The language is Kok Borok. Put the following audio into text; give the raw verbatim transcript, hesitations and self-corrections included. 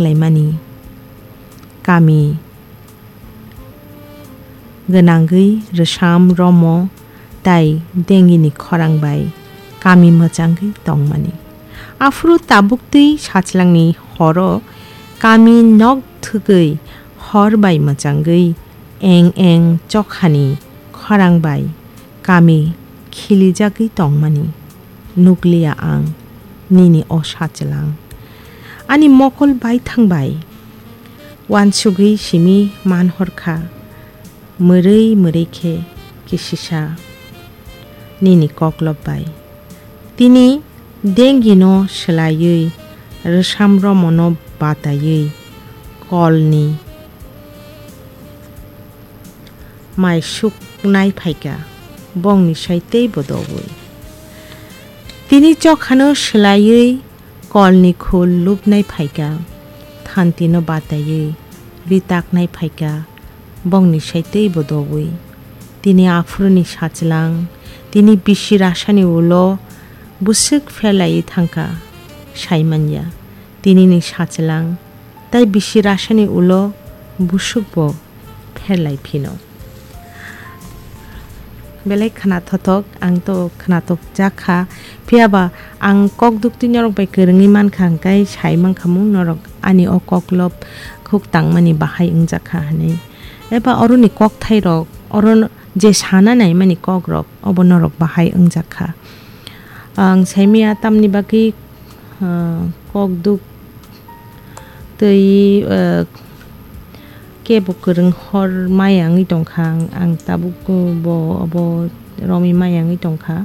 laimani. Kami gwnangwi rwsam romo tai dengini khorang bai kami mwchangwi tongmani. Aphuru tabuktwi sachlangni horo kami nok thwgwi hor bai mwchangwi eng eng chokhani khorang bai kami khilijagwi tongmani. Nukliya ang nini o sachwlang. Ani mokol baithang bai uansugwi simi manhorkha, mwrwi mwrwi khe kisisa nini koklop bai. Tini dengino swlaiwi rwsam romono bataiwi kolni mai suknai phaikha, bongni sai teibo dowi. Tini chokhano swlaiwi kolni khul lubnai phaikha, thantino bataiwi ritaknai phaikha, bongni sai teibo dowi. Tini aphuruni sachwlang, tini bisi rasani ulo bwswk pherlaiwi thangkha, saimanya. Tinini sachwlang, tai bisi rasani ulo bwswkbo pherlai phino. Belai khwnathothok, ang to khwnathok jakha. Phiya ba ang kok duktwi norok bai kwrwngwi mankha, hwnkhe sai mankha mung norok ani o koklop khuk tangmani bahai wngjakha hwnwi. Eba oroni kokthairok, oro je sana naimani kokrok, obo norok bahai wngjakha. Ang saimaya tamni bagwi, ah, kok duk twi, ah, kebo kwrwng hor maya wngwi tongkha, ang, ang tabuk bo obo romwi maya wngwi tongkha.